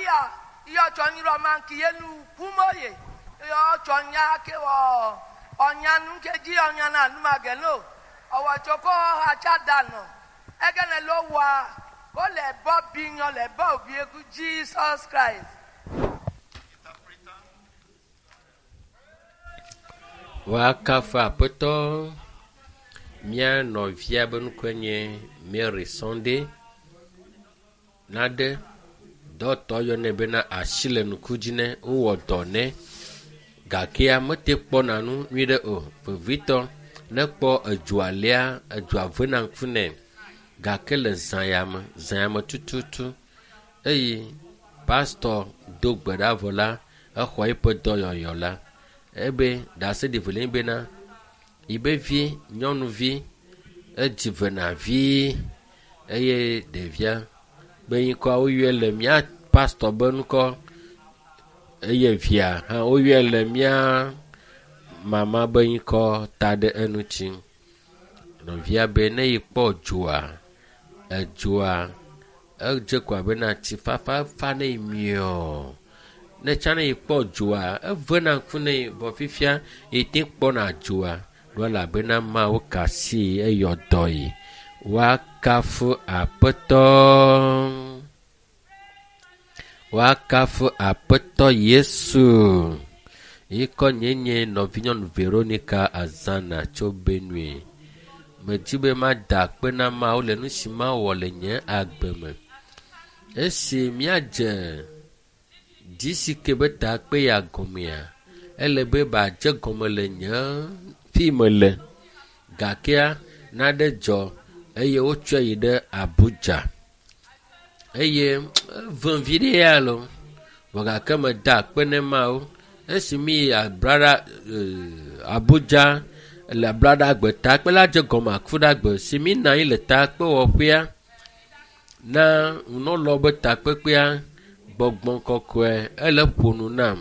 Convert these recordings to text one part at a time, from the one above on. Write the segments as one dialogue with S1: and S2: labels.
S1: iya iyɔ tsɔ nyi rɔ ma ki ye nu kumo ye iyɔ tsɔ nya ke wɔ ɔnya nu ke dzi ɔnya na nu ma ge no ɔwɔ tso ko hatsa da nɔ egene lo wa ko le bɔ bi nyɔ le bɔ bi eku Jesus Christ.
S2: Woakafu Aƒetɔ. Mía nɔvia be ŋkɔe nye Mary Sunday. Nane dɔtɔ yɔnɛ bena asi le ŋku dzi nɛ wowɔ dɔ nɛ gakea mete kpɔna nu nyuie o. Vevitɔ ne ekpɔ edzoa lia edzoa vena ŋku nɛ gake le zã ya me zã ya me tututu eye pastɔ do gbe ɖa vɔ la exɔ eƒe dɔyɔyɔ la ebe ɖaseɖi velia bena yibe vi nyɔnuvi edzi vena vie eye ɖevia be ŋkɔa woyɔe le mía pastɔ be ŋkɔ eye via hã woyɔe le mía mama be ŋkɔ ta ɖe eŋuti. Nɔvia be ne yi kpɔ dzoa, edzoa edze ko abena tsifafa fa ne yi miɔɔ. Ne tsã ne yi kpɔ dzoa, evena ŋku ne yi vɔ fifia yi te kpɔna dzoa ɖo elabena Mawu ka asi eyɔ dɔ yi. Woakafu Aƒetɔ. Woakafu Aƒetɔ Yesu. Yi kɔ nye nye nɔvinyɔnu Veronica Azana tso Benue. Medi be mada akpe na Mawu le nu si mawɔ le nye agbe me. Esi míadze GCK be takpe ya gɔmea, ele be badze gɔme le nye fi mele gakea nane dzɔ eye wotsɔe yi ɖe Abuja eye evem vi ɖe ya lo vɔ gake meda akpe ne Mawu esi mi yi Abrara Abuja le Abraɖagbe takpe la dze gɔme Akuɖagbe si mi nɔ anyi le takpewɔƒea na nunɔlawo be takpekpea gbɔgbɔ kɔkɔe ele ƒo nu nam.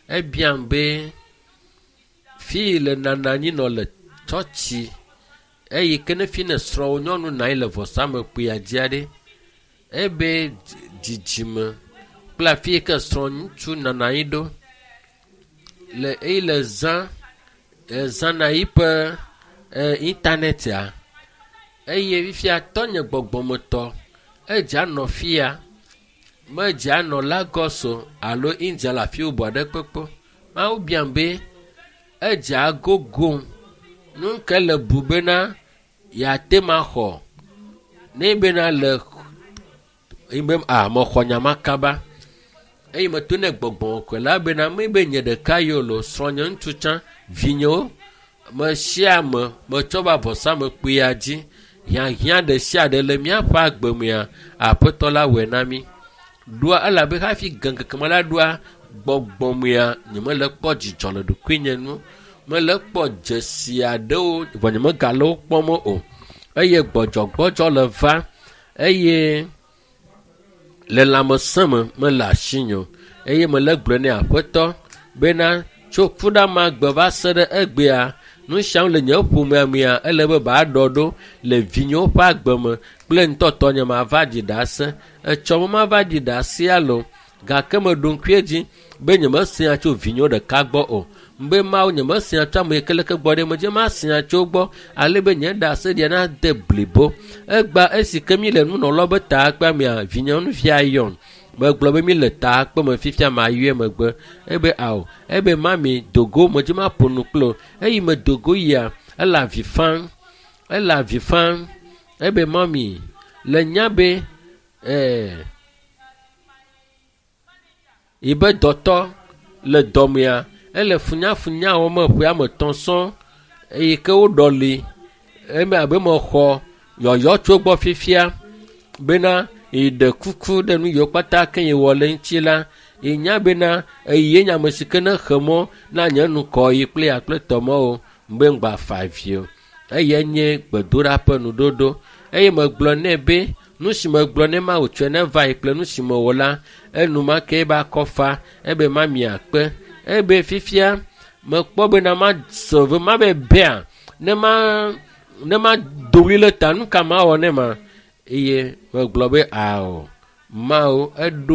S2: Ebiam be fi yi le nana anyi nɔ le tsɔtsi eyi ke ne fi ne srɔ̃wò nyɔnu nɔ anyi le vɔsamekpuia dzi aɖe ebe dzidzime kple afi yi ke srɔ̃ ŋutsu nɔna anyi ɖo le eyi le zã ezãna yiƒe e, intanɛtia eye fifia tɔnye gbɔgbɔmetɔ edze anɔ fia medze anɔ Lagos o alo India le afi bubu aɖe kpekpe. Mawu biam be edze agogom nu ke le bu bena yeate ma xɔ ne bena le be a mexɔ nya ma kaba eye meto ne gbɔgbɔ kɔe la bena mi be nye ɖeka yi o lo srɔ̃nye ŋutsu tsã vinyewo me sia ame metsɔ va vɔsamekpuia dzi hiahiã ɖe sia ɖe le míaƒe agbe mea aƒetɔ la wɔe na mí ɖoa elabe hafi gɛŋkeke me la ɖoa gbɔgbɔmea nyemele kpɔ dzidzɔ le ɖokuinye nu mele kpɔ dzesi aɖewo vɔ nyemegale wo kpɔm o eye gbɔdzɔgbɔdzɔ le va eye le lãmesẽ me mele asinye o eye mele gblɔe nɛ aƒetɔ bena tso kuɖa ma gbe va se ɖe egbea nu siawo le nye ƒomea mea ele be baɖɔ ɖo le vinyewo ƒe agbe me kple ŋutɔtɔ nye mava ɖi ɖase etsɔ me mava ɖi ɖase alo gake meɖo ŋku edzi be nyemesea tso vinyewo ɖeka gbɔ o be mawu nyemesea tso ame yi ke leke gbɔ ɖe medze masea tso gbɔ ale be nye ɖase ɖia nade blibo egba esi ke mi le nunɔlawo be takpea mea vinyeŋuvia yɔm megblɔ be mi le takpe me fifia mayɔe megbe ebe ao ebe mami dogo medze maƒo nu kple o eyi me dogo yia ele avi fam ele avi fam ebe mami le nya be ɛɛ yibe dɔtɔ le dɔmea ele funyafunya wɔm ƒe ame etɔ̃ sɔŋ eyi ke woɖɔli eme abe mexɔ yɔyɔ tso gbɔ fifia bena yi ɖe kuku ɖe nu yiwo kpata ke yi wɔ le ŋuti la yi nya bena eye nye ame si ke ne xe mɔ na nye nukɔ yi kple ya kple tɔmɔwo be ŋgba fa avi o eye nye gbedoɖa ƒe nuɖoɖo eye megblɔ nɛ be nu si megblɔ nɛ ma wòtsɔe ne va yi kple nu si mewɔ la enumake ebe akɔfa ebe mami akpe ebe fifia mekpɔ bena ma se ve ma be bea ne ma ne ma do ɣli le ta nu ka mawɔ ne ma eye megblɔ be ao mawu eɖo